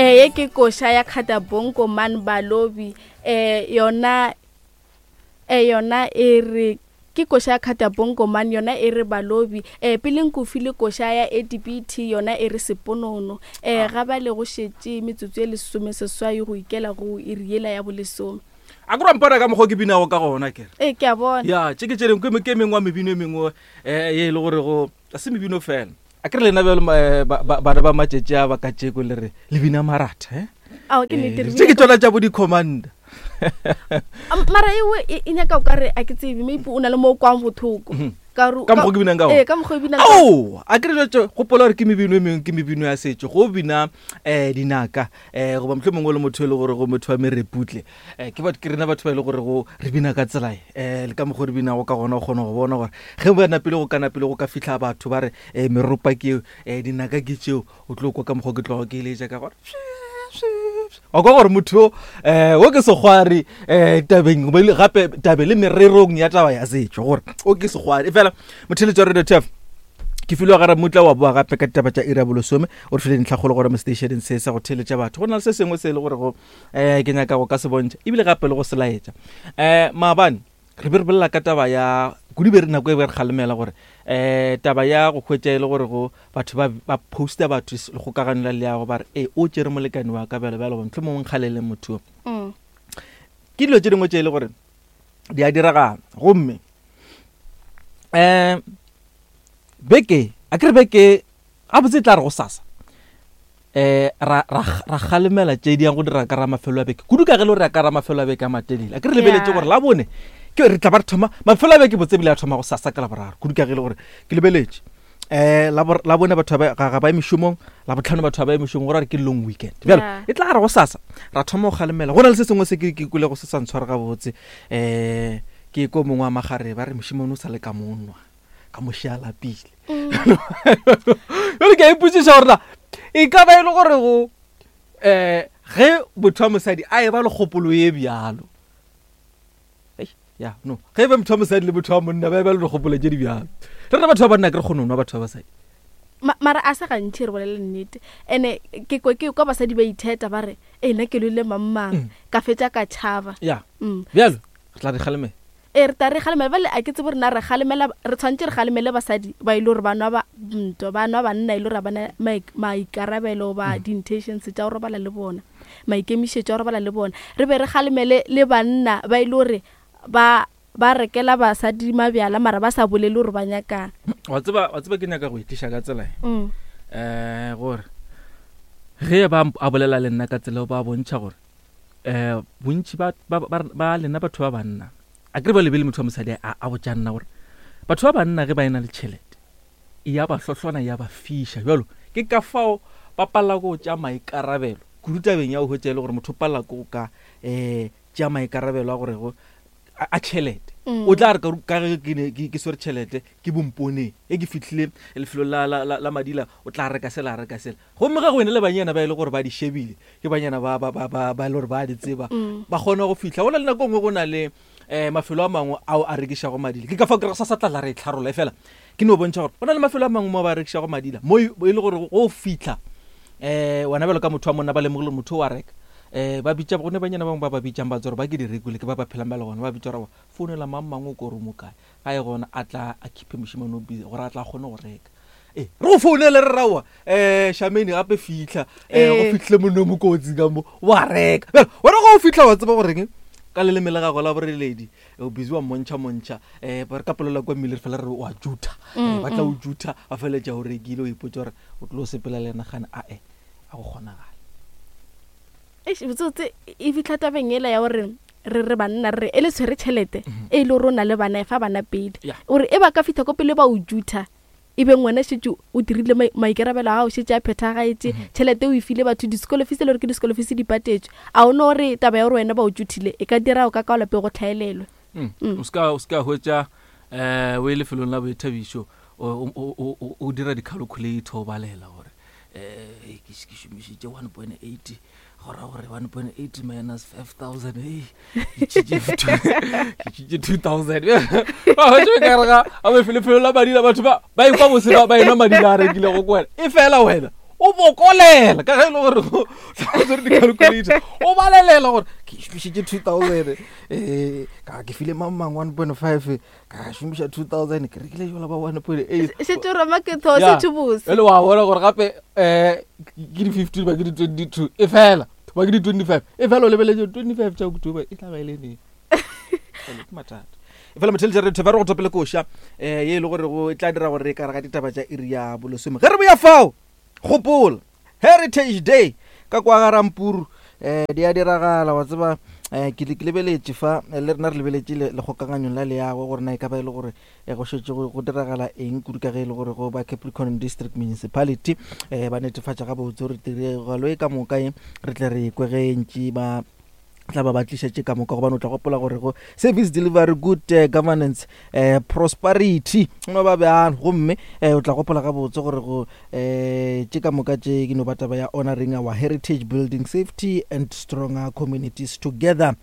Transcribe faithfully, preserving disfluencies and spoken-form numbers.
Eh ye ke koša ya Khatabonko man Balobi. Eh yona eh yona e re ke koša ya Khatabonko man yona e re Balobi. Eh pele nko file koša ya A D B T yona e re Seponono. Eh ga ba le go šetše metsotso e lesome seswai go ikela go iri yela ya bolesome. A ke mpona ka mokgwa ke binago ka gona kere. Eh ke a bona. Ya, tše ke tše dingwe ke mengwe wa mebino e mengwe eh ye e le gore go a se mebino fela. A ke re lena bjalo bana ba matšatši a ba ka tšeko le re le bina maratha eh. Ao ke nnete re tše ke tšona tša bo di-commander. Mara ewe e nyaka o ka re a ke tsebe maybe o na le mo o kwang bothoko. Ka ka mokgwa ke binang ka gona. Eh ka mokgwa o binang. Ao, a ke re jwetše gopola gore ke mebino e mengwe ke mebino ya setšo go bina eh dinaka eh goba mohlomongwe le motho e le gore go motho wa mereputle eh ke batho ke rena batho ba e le gore go re bina ka tsela eh le ka mokgwa re binago ka gona o kgona go bona gore ge ba napile go ka napile go ka fihla batho ba re eh meropa ke eo eh dinaka ke tšeo o tlo kwa ka mokgwa ke tloga ke eletša ka gore wa kwa gore motho eh o ke sekgwari eh tabeng gape tabe le mererong ya taba ya setšo gore o ke sekgwari. Fela motheletši wa Radio T F ke filwe ga Ramutla wa boa gape ka ditaba tša iri ya bolesome o re file dintlhakgolo gore mo stationeng se sa go theletša batho go na le se sengwe se e le gore go eh ke nyaka go ka se bontšha ebile gape le go se laetša. Eh maabane re be re bolela ka taba ya kudu be re nako e be re kgalemela gore eh taba ya go hwetša e le gore go batho ba ba posta batho lekgokagano la leago ba re e o tšere molekane wa ka bjalo bjalo mohlomongwe nkgalele motho. Ke dilo tše dingwe tše e le gore di a diragala gomme eh beke a ke re beke gabotse e tla re go sasa eh ra ra ra kgalemela tše di yang go dira ka ra mafelo a beke kudu ka ge le gore ya ka ra mafelo a beke a matelele a ke re lebeletše gore la bone ke re tla ba re thoma mafelo a beke botse bile a thoma go sasa ka la boraro kudu ka ge le gore ke lebeletše eh la la bone batho ba ga ba mešomong la botlhano batho ba mešomong gore re ke long weekend bjalo e tla re go sasa ra thoma go kgalemela go na le se sengwe se ke ke kwele go se sa ntshware gabotse eh ke ko mongwe wa magare ba re mošemane o sa le ka monwa ka mošala pile jalo ke a ipotšiša gore na e ka ba e le gore go eh ge motho wa mosadi a e ba le kgopolo ye bjalo ya no ge ba motho wa mosadi le motho wa monna ba e ba le dikgopolo tše di bjalo re rena batho ba banna ke re kgone go nwa batho ba basadi mara a se gantši re bolele nnete ene ke kwa ke kwa basadi ba itheta ba re e nna ke lwele mang ka fetša ka tšhaba ya bjalo re tla re kgalemela e re tla re kgalemela bale a ke tsebe rena re kgalemela re tshwanetse re kgalemele basadi ba ile gore ba nwa ba ntwa ba nwa banna ile gore ba na maikarabelo ba di-intentions tša go robala le bona maikemišetšo a go robala le bona re be re kgalemele le banna ba ile gore ba ba rekela basadi mabjala mara ba sa bolele gore ba nyakang. Wa tseba wa tseba ke nyaka go itliša ka tsela e eh gore ge ba a bolela le nna ka tsela ba bontšha gore eh bontši ba ba lena batho ba banna a ke re ba lebele motho wa mosadi a a botša nna gore batho ba banna ge ba ena le tšhelete e ya ba hlohlona ya ba fiša bjalo ke ka fao ba palela go tša maikarabelo kudu tabeng ya go hwetša e le gore motho o palela ko ka um tša maikarabelo a gore go a tšhelete o tla re ka ge ke swere tšhelete ke bomponeng e ke fihlile lefelo la la la madila o tla reka sela reka sela gomme ga go ene le banyana ba e le gore ba di shebile ke banyana ba ba ba ba e le gore ba di tseba ba kgona go fihla go na le nako nngwe go na le eh mafelo a mangwe ao a rekišago madila ke ka fao ke re sa sa tla la re tlharola e fela ke no bontšha gore go na le mafelo a mangwe mo ba rekišago madila mo e le gore go fihla eh wena bjalo ka motho wa monna ba lemogile motho wa reka eh ba bitša go ne banyana bangwe ba ba bitšang ba tsore ba ke di rekile ke ba ba phelang ba le gona ba bitša gore founela mang mang o ko re mo kae ga e gona a tla a keep mošemane o busy gore a tla kgone go reka e re go founele re raowa um Shameni gape fitlha um go fitlhile monne mo kotsi ka mo wa reka bjalo wena go o fitlha wa tseba goreng ka leleme le gago la boreledi o busy wa montšha montšha um re ka polela kwa mmele re fela re wa jutha ba tla o jutha ba feleletša o rekile o ipotsa gore o tlo sepela le yena gane ae a go kgonagala. Eish botsotse e fitlha tabeng ela ya gore re re banna re e le tshwere tšhelete e le gore o na le bana e fa bana pele gore e ba ka fitlha ko pele ba o jutha e be ngwana šetše o dirile maikarabelo a gago šetše a phethagaetše tšhelete o e file batho di-school fees le gore ke di-school fees di patetšwe a o no gore taba ya gore wena ba o juthile e ka dira o ka ka lapeng go tlhaelelwe. O ska o ska hwetša um o e lefelong la boithabišo o dira di-calculator o balela gore um ke šomišitše one point eight go ra gore one point eight minus five thousand ke tšhitše two thousand ba hwetše ka re ga a lefelo la madila batho ba ba ikwa bose ba enwa madila a rekilego ko wena e fela wena o O bokolela ka ge e le gore o tshwere di-calculator, o balelela gore ke šomišitše two thousand, um ka ke file mang mang one point five, ka šomiša two thousand, ke rekile jola ba one point eight. Šetse roma ke tho Ya. setse bose. Ele wa bona gore gape um ke di-fifteen ba ke di-twenty two, e fela ba ke di-twenty five, e fela o lebeletse twenty five tša October e tla ba e le neng. Jwale ke mathata. E fela motheletša re thebe re go topele koša um ye e le gore go e tla dira gore re ka re ga ditaba tša iri ya bolesome. Ge re boya fao, gopola Heritage Day ka kwa ga Rampuru, um di a diragala. Wa tseba, um ke ke lebeletše fa, eh, le rena re lebeletše le- lekgokaganyong la leago gore na e ka ba e le gore eh, go šetše go go diragala eng kudu, ka ge e le gore go ba Capricorn District Municipality um ba netefatša gabotse gore tiragalo e ka moka e re tle re kwe ge ntši ba tla ba ba tlišetše ka moka, gobane o tla gopola gore go service delivery, good uh, governance, uh, prosperity no ba bjalo. Gomme um o tla gopola gabotse gore go um tše ka moka tše ke no ba taba ya honoring our heritage, building safety and stronger communities together.